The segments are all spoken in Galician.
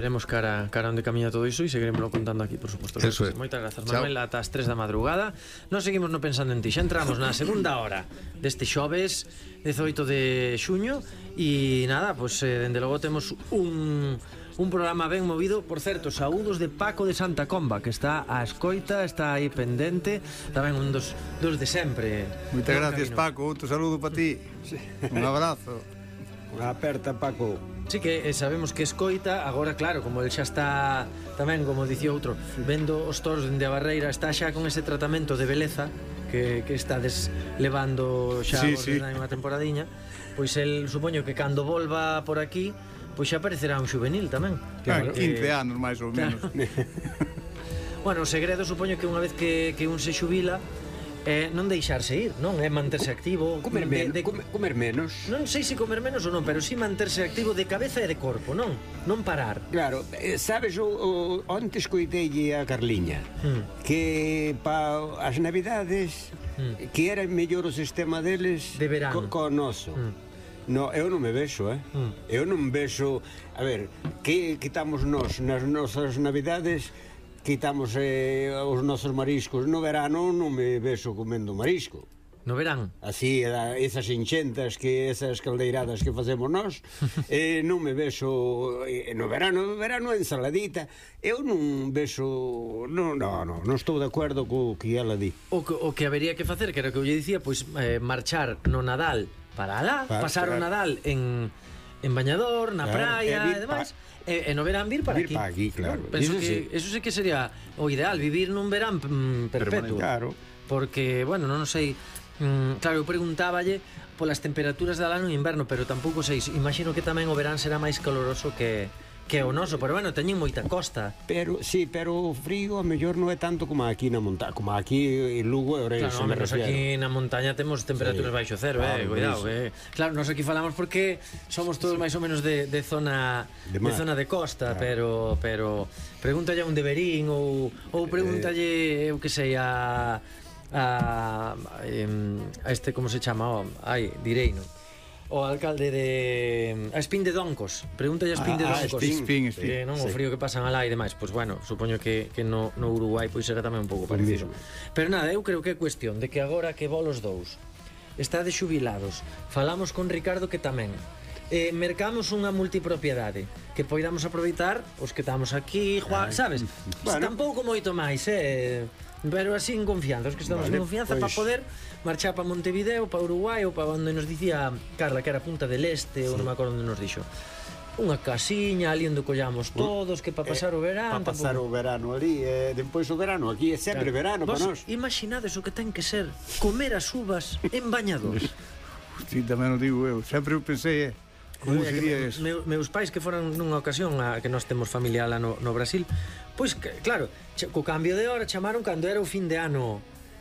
Veremos cara onde camiña todo iso e seguiremoslo contando aquí, por suposto. Moitas grazas, Manuel, ata as 3 da madrugada. Nos seguimos no Pensando en Ti. Xa entramos na segunda hora deste xoves 18 de xuño e nada, pois dende logo temos un programa ben movido. Por certo, saúdos de Paco de Santa Comba, que está á escoita, está aí pendente, tamén un dos de sempre. Moitas gracias, Paco, outro saludo para ti. Un abrazo. Unha aperta, Paco. Sí, que sabemos que escoita. Agora, claro, como el xa está tamén, como dicía outro, vendo os toros dende a barreira, está xa con ese tratamento de beleza que estades levando xa unha temporadiña. Pois el, supoño que cando volva por aquí, pois xa aparecerá un xuvenil tamén. Claro, 15 anos máis ou menos. Bueno, o segredo, supoño que unha vez que un se xubila, non deixarse ir, non? É manterse activo, comer menos. Non sei se comer menos ou non, pero si manterse activo de cabeza e de corpo, non? Non parar. Claro, sabes, antes coitei a Carliña que para as navidades que era mellor o sistema deles de verano co noso. No, eu non me vexo, eu non vexo. A ver, que quitamos nós nas nosas navidades? Quitamos os nosos mariscos. No verano non me vexo comendo marisco. No verán? Así, esas enxentas, esas caldeiradas que facemos nós, non me vexo. No verano ensaladita. Eu non vexo. Non estou de acordo co que ela di. O que habería que facer, que era o que eu lle dicía, pois marchar no Nadal para alá, pasar o Nadal en Bañador, na praia e demais. E no verán vir para aquí, claro. Penso que eso sí que sería o ideal, vivir nun verán perpetuo. Claro. Porque, bueno, non sei. Claro, eu preguntáballe polas temperaturas da ano e inverno, pero tampouco sei. Imagino que tamén o verán será máis caloroso que o noso, pero bueno, teñen moita costa. Pero o frío a mellor non é tanto como aquí na montaña, como aquí en Lugo e Ourense. Claro, menos aquí na montaña temos temperaturas baixo cero, cuidado, Claro, nós aquí falamos porque somos todos máis ou menos de zona de costa, pero pregúntalle a un de Verín ou pregúntalle, eu que sei, a este, como se chama, direino, o alcalde a Espín de Doncos. Pregúntalle a Espín de Doncos. Non o frío que pasan alá e demais. Pois bueno, supoño que no Uruguai pois será tamén un pouco parecido. Pero nada, eu creo que é cuestión de que agora que vos dous estades xubilados, falamos con Ricardo que tamén mercamos unha multipropiedade que poidamos aproveitar os que estamos aquí, sabes? Tampouco moito máis, pero así en confianza, os que estamos en confianza, para poder marchar para Montevideo, para Uruguai ou para onde nos dicía Carla, que era Punta del Este, ou non me acordo onde nos dixo. Unha casiña ali onde collamos todos, que para pasar o verano. Para pasar o verano ali, depois o verano aquí é sempre verano para nós. Imaginades o que ten que ser comer as uvas en Bañador. Si, tamén o digo eu, sempre eu pensei, como sería eso? Meus pais que foran nunha ocasión que nós temos familia lá no Brasil, pois claro, co cambio de hora chamaron cando era o fin de ano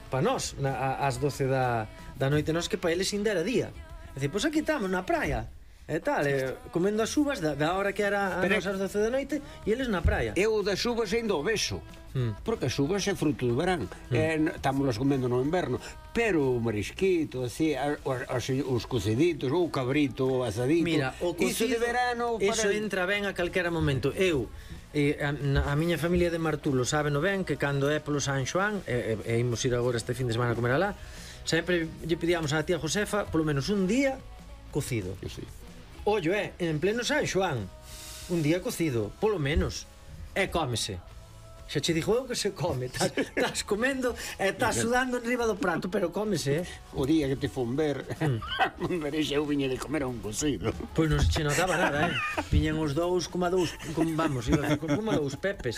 para nós, ás 12 da noite, nós que para eles ainda era día. É dicir, pois aquí estamos na praia e tal, comendo as uvas da hora que era ás 12 da noite e eles na praia. Eu das uvas ainda o vexo, porque as uvas é fruto do verán, estámolas comendo no inverno, pero o marisquito, así, os cociditos, ou o cabrito, o asadito, mira, o cocido, iso de verano eso entra ben a calquera momento. Eu a miña familia de Martulo sábeno ben que cando é polo San Xoán e imos ir agora este fin de semana a comer alá, sempre lle pedíamos a tía Josefa polo menos un día cocido. Ollo, en pleno San Xoán, un día cocido, polo menos, cómese. Xa che dixo eu que se come, estás comendo e estás sudando enriba do prato, pero cómese, O día que te fon ver, eu viña de comer a un cocido. Pois non se che notaba nada, viñan os dous como dous pepes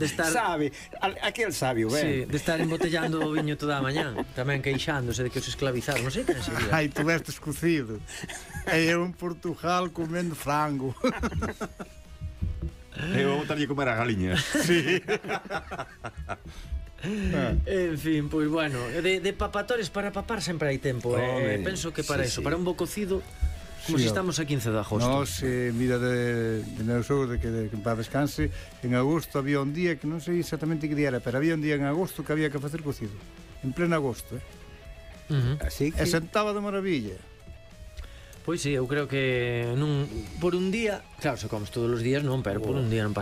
de estar... Sabe, aquel sabio, ben. Sí, de estar embotellando o viño toda a mañán, tamén queixándose de que os esclavizaron, non sei quen sería. Ai, tu vestes cocido. E eu en Portugal comendo frango. Eu vou botarlle comer a galiña. Sí. En fin, pois bueno, de papatores para papar sempre hai tempo. Penso que para eso, para un bo cocido, como se estamos a 15 de agosto. Nos, mira, de meu sogro, que para descanse, en agosto había un día que non sei exactamente que día era, pero había un día en agosto que había que facer cocido, en pleno agosto, Así que... E sentaba de maravilla. Pois sí, eu creo que por un día, claro, se comes todos os días non, pero por un día non pasa